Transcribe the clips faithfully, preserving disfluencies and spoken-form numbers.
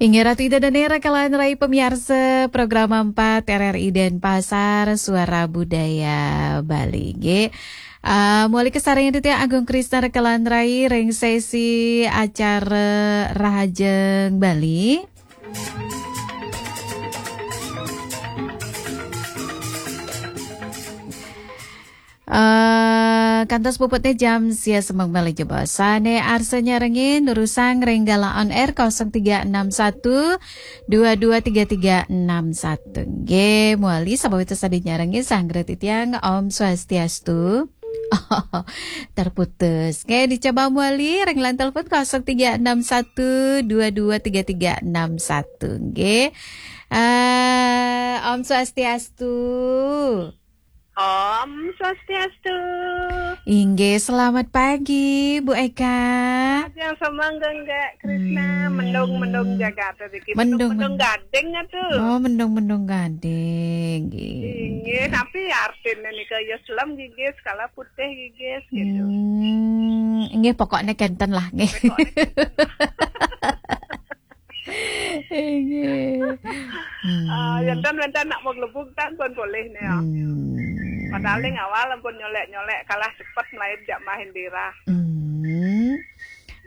Inggih Ratu Ida Dane rakalan rai pamiarsa program empat R R I Denpasar, Suara Budaya Bali. Nggih. Ah, mawali kasarengin titiang Agung Krisna rakalan rai ring sesi acara Rahajeng Bali. Eh, kantos puputne jam sia semeng malih jebos. Sane arsa nyarengin durusang ring galah on air kosong tiga enam satu dua dua tiga tiga enam satu. Nggih, mawali sawitra sane nyarengin sanggra titiang, Om Swastiastu. Terputus. Nggih, dicoba mawali ring line telepon kosong tiga enam satu dua dua tiga tiga enam satu. Nggih. Eh, Om Swastiastu. Om Swastiastu. Inggih, selamat pagi, Bu Eka. Ajeng semeng, Gek Krisna, hmm, mendung-mendung jagat iki. Mendung, mendung, mendung gading atuh. Oh, mendung-mendung gading, nggih. Inggih, tapi artine nika ya selem gigis, kala putih gigis gitu. Hmm, inggih, pokoknya kenten lah, nggih. Pokoknya kenten lah. Inggih. Hmm. Ah, enten-enten nak mau gelebug tan pun boleh nih, ya. Hmm. Padahal ning awal ampun nyolek-nyolek kalah cepet melaib jak main dira. Hmm.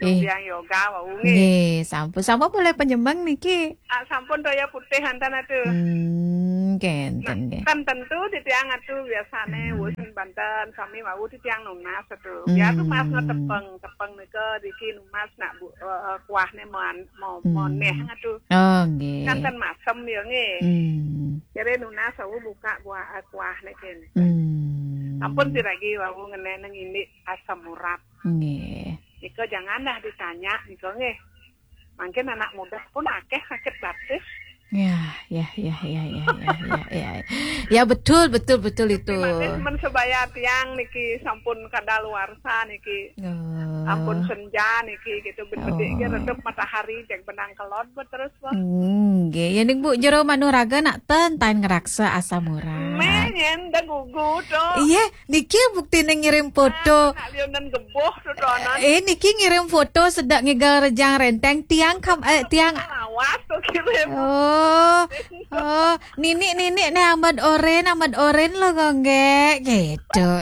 Eh. Yang yoga wau nggih. Nggih, sampun. Sampun mulai penyemeng niki. Ah, sampun toya putih enten atuh. Hmm, kenten nggih. Kan tentu titiang atuh biasane, hmm, wusan banten sami wau titiang nunas atuh. Ya tuh pas, hmm, ngetepeng, tepeng nika diki nunas nak bu, eh, kuahne mon-, mo-, hmm, moneh atuh. Oh, nggih. Kan ten masem ya nggih. Hmm. Jare nunas wau buka kuah, eh, kuahne kenten. Hmm. Ampun siragi wau ngeneneng indik asam urat. Nggih. Nika jangan dah ditanya nika nggih. Mangkin anak muda pun akeh sakit batis. Ya, ya, ya, ya, ya, ya, ya, ya. Ya, betul, betul, betul itu. Tapi malih men sebaya tiang niki sampun kadaluarsa niki. Oh. Ampun senja niki gitu, ben bedik ge, oh, redup matahari, jeg benang kelod bet terus, Bang. Hmm, nggih. Ya ning Bu, jero manuraga nak ten tan ngraksa asam urat. Meh nyen da gugu to. Iya, niki buktine ngirim foto. Ah, nak liunan geboh to donan. Eh, niki ngirim foto sedek ngigal rejang renteng tiang kam-, eh, tiang. Lawas to kirim. Oh, oh, nini, nini ne ambat oren, ambat oren lo gongge gitu.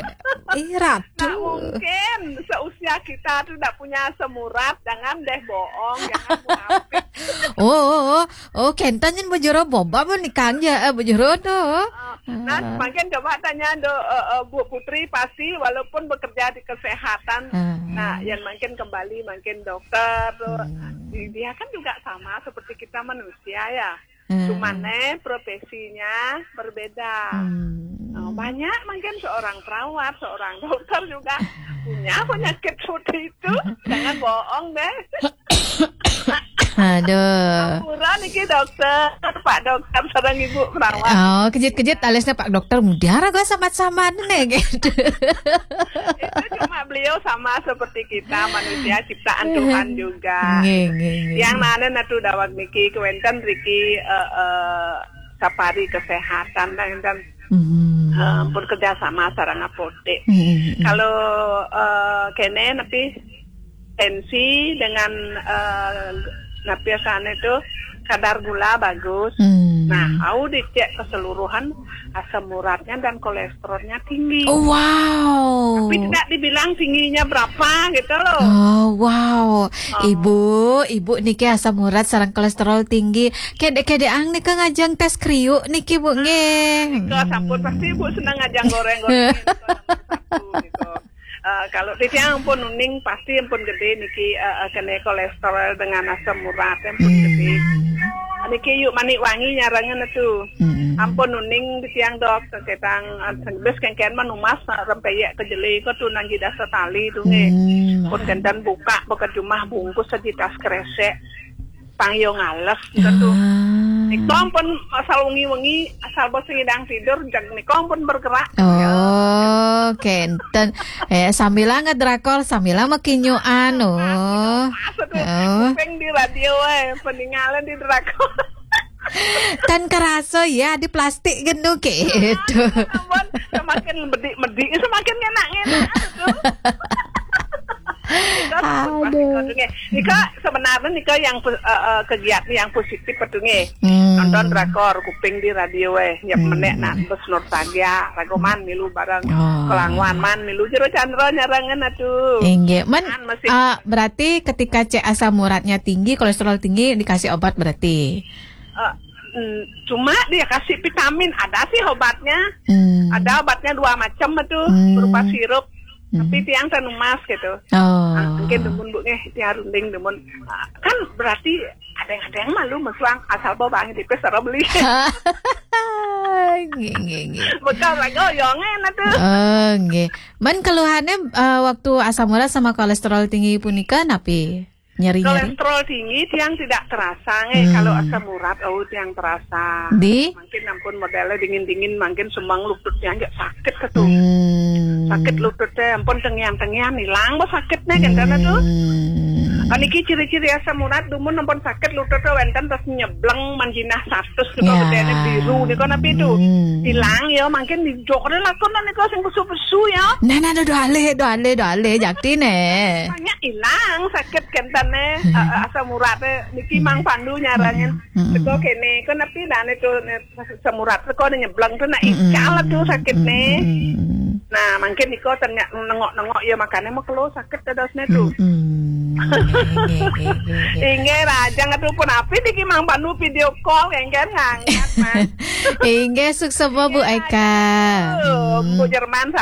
Ih, Ratu. Nak mungkin seusia kita tuh ndak punya asam urat, jangan deh bohong, jangan munafik. Oh, oh, oh, oh, kenten nyen bujuro boba pun ikan ya, eh, bujuro tuh. Ah, nah, ah, mungkin coba tanya do, eh, eh, Bu Putri pasti walaupun bekerja di kesehatan, ah, nah, yang mungkin kembali mungkin dokter tuh, hmm, di-, dia kan juga sama seperti kita manusia ya. Hmm. Cuman, eh, profesinya berbeda. Hmm. Oh, banyak mungkin seorang perawat, seorang dokter juga punya penyakit seperti itu. Jangan bohong deh. Aduh. Ampura niki dokter, Pak Dokter sareng Ibu perawat. Oh, kejut-kejut alisnya Pak Dokter mutiara gua sama-sama nih gitu. Itu cuma beliau sama seperti kita, manusia ciptaan Tuhan juga. Nggih, nggih, nggih. Yang nane natu daweg niki kewenten riki, eh, eh, sapari kesehatan dan, dan, hmm, eh, pun kerjasama sareng apotek. Hmm, hmm, hmm. Kalau, eh, kene nepi tensi dengan, eh, napi asane itu kadar gula bagus. Hmm. Nah, au dicek keseluruhan asam uratnya dan kolesterolnya tinggi. Oh, wow. Tapi tidak dibilang tingginya berapa gitu loh. Oh, wow. Oh. Ibu, ibu niki asam urat sareng kolesterol tinggi. Kede-kedeang nika ngajeng tes kriuk niki, Bu, nggih. Nika sampun pasti Ibu seneng ngajeng goreng-goreng. Nika nomor satu gitu. Eh, kalau titiang ampun uning pasti ampun gede niki, eh, eh, kene kolesterol dengan asam urat ampun gede. Hmm. Niki yuk manik wangi nyarengan itu. Hmm. Ampun uning titiang dok, ketang, eh, bes kengken manumas, eh, rempeyek kejele ko tu nanggi dasa tali tu nggih. Hmm. Pun kenten buka bekat jumah bungkus sejitas kresek. Pang yo ngales gitu. Ah. Nika pun asal wengi-wengi, asal bos ngidang tidur, jag nika pun bergerak. Oh, kenten. Eh, sambilang ngedrakor, sambilang makinyuan, oh. Pas itu, oh, kuping di radio, eh, peninggalan di drakor. Tan karaso ya, di plastik gitu, gitu. Ampun, semakin bedik-bedik, semakin enak-enak tuh. Nika sampun pas nika tuh nggih. Nika sebenarnya nika yang pu- eh, eh, kegiatan yang positif tuh nggih. Nonton drakor, kuping di radio eh, nyep menek nak bes nostalgia, ragoman milu bareng, kelangwan man milu jero candra nyarangan atuh. Inggih. Men, ah, berarti ketika cek asam uratnya tinggi, kolesterol tinggi, dikasih obat berarti. Eh, mm, cuma dia kasih vitamin, ada sih obatnya. Ada obatnya dua macam tuh, berupa sirup. Tapi tiang teh numas gitu. Oh. Ah, mungkin demun bu nggih, tiang runding demun. Ah, kan berarti ada yang ada yang malu mesuang asal bawa bang di pes beli. Nggih, nggih, nggih. Betul lagi oyonge nah tuh. Oh, nggih. Men keluhannya eh, waktu asam urat sama kolesterol tinggi punika napi? Nyeri-nyeri. Kolesterol tinggi tiang tidak terasa nggih. Kalau asam urat oh tiang terasa. Di? Mungkin ampun modelnya dingin-dingin, mungkin semang lutut tiang nggak sakit tuh. Hmm. Sakit lututnya ampun tengian-tengian hilang bah sakitnya kan tuh. Hmm. Kan iki ciri-ciri asam urat dumun ampun sakit lututnya wenten terus nyebleng manjinah satus tuh Ya. Bedene biru nih kan apa itu. Hmm. Hilang ya mungkin di jokne lakon niku sing besu-besu ya. Nah, nah, doh alih, doh alih, doh alih, jakti ne. Banyak hilang sakit kentane eh, asam uratnya niki Mang Pandu nyarangin. Mm-mm. Teko kene, kok nepi dane tuh ne- asam urat teko ne nyebleng tuh nak ical tuh sakit nih. Hmm. Nah, mungkin niko ternyata nengok-nengok ya makanya mau kelo sakit dadosne tuh. Hmm. Nggih, nggih, nggih, nggih. Inggih rajang atuh pun api niki Mang Pandu video call kengken ngangkat Mas. Inggih, sukses Bu Eka. Tuh, Bu Jerman sama